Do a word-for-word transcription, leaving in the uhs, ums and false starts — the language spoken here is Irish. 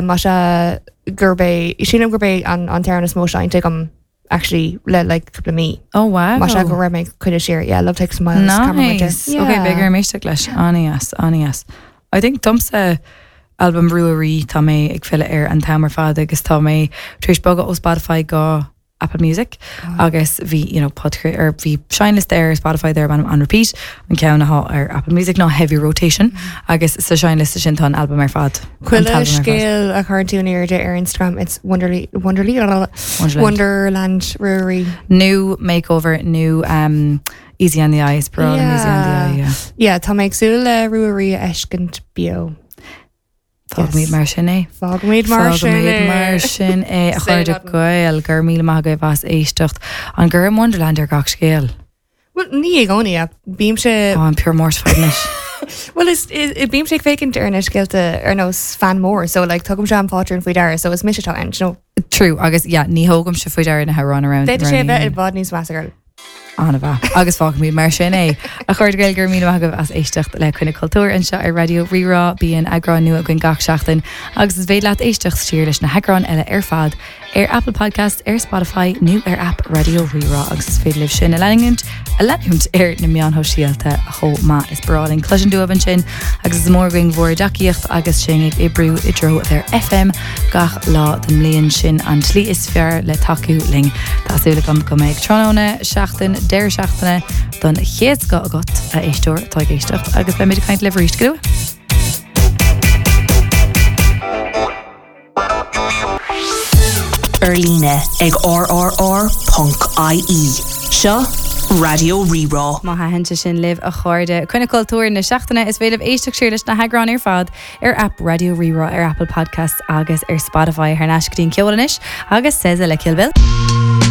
Má sé gurb é sílim gurb é an an t-amhrán is mó seinnte agam actually le like cúpla mí. Oh wow. Má sé go raibh mé coinne siar yeah Love Takes Miles Cameron Winter. Nice. Okay, beidh orm éisteacht leis an-deas an-deas. I think domsa album Ruairí tá mé ag filleadh air an t-am ar fad agus tá mé tar éis bogadh ó Spotify go Apple Music agus bhí you know, podchra ar bhí seinnliosta ar Spotify there an on repeat an ceann atá ar Apple Music ná heavy rotation agus sa seinnliosta sin tá an album ar fad. An Chuile t-album ar fad. scéal a chuireann tú in airde ar Instagram it's Wonderly Wonderly Wonderland. Wonderland Ruairí. New makeover, new um, Easy on the Eyes, Parole yeah. Easy on the Eye. Yeah. Yeah, tá mé ag súil le Ruairí a fheiscint beo. Fágfaimid mar sin é. Fágfaimid mar sin Fágfaimid é. mar sin é a Say chairde nothing. Gael gur míle maith agaibh as éisteacht an gcuirim Wonderland ar gach scéal. Well ní i gcónaí bímse Á an pure mortified anois. Well is bímse ag féachaint ar na scéalta ar nós fan mór, so like tugaim se an pátrún faoi deara, so is mise atá ann, no. True agus yeah, ní thógaimse faoi deara na hamhráin around. D'fhéadfadh sé bheith i bhfad níos measa girl. An-mhaith agus fágfaimid mar sin é a chairde Gael gur míle maith agaibh as éisteacht le Coinne Cultúir anseo ar Raidió Rí-Rá bíonn eagrán nua againn gach seachtain agus is féidir leat éisteacht siar leis na heagráin eile ar fad ar Apple Podcast ar Spotify nó ar app Raidió Rí-Rá agus is féidir libh sin a leanúint a leanúint ar na meáin shóisialta chomh maith is breá linn cloisint uaibh ansin agus is mór againn bhur dtacaíocht agus sinn ag oibriú i dtreo bheith ar FM gach lá den mbliain sin an tslí is fearr le tacú linn. Tá súil agam go mbeidh tráthnóna seachtain deireadh seachtaine don chéad scoth agat a éisteoir atá ag éisteacht agus beimid ag caint libh arís go luath. Ar líne ag rrr.ie. Seo Raidió Rí-Rá. Má thaitin sé sin libh a chairde Coinne Cultúir na seachtaine is féidir éisteacht siar leis na heagráin ar fad ar app Raidió Rí-Rá ar Apple Podcasts agus ar Spotify thar n-ais go dtí an ceol anois agus SZA le Kill Bill.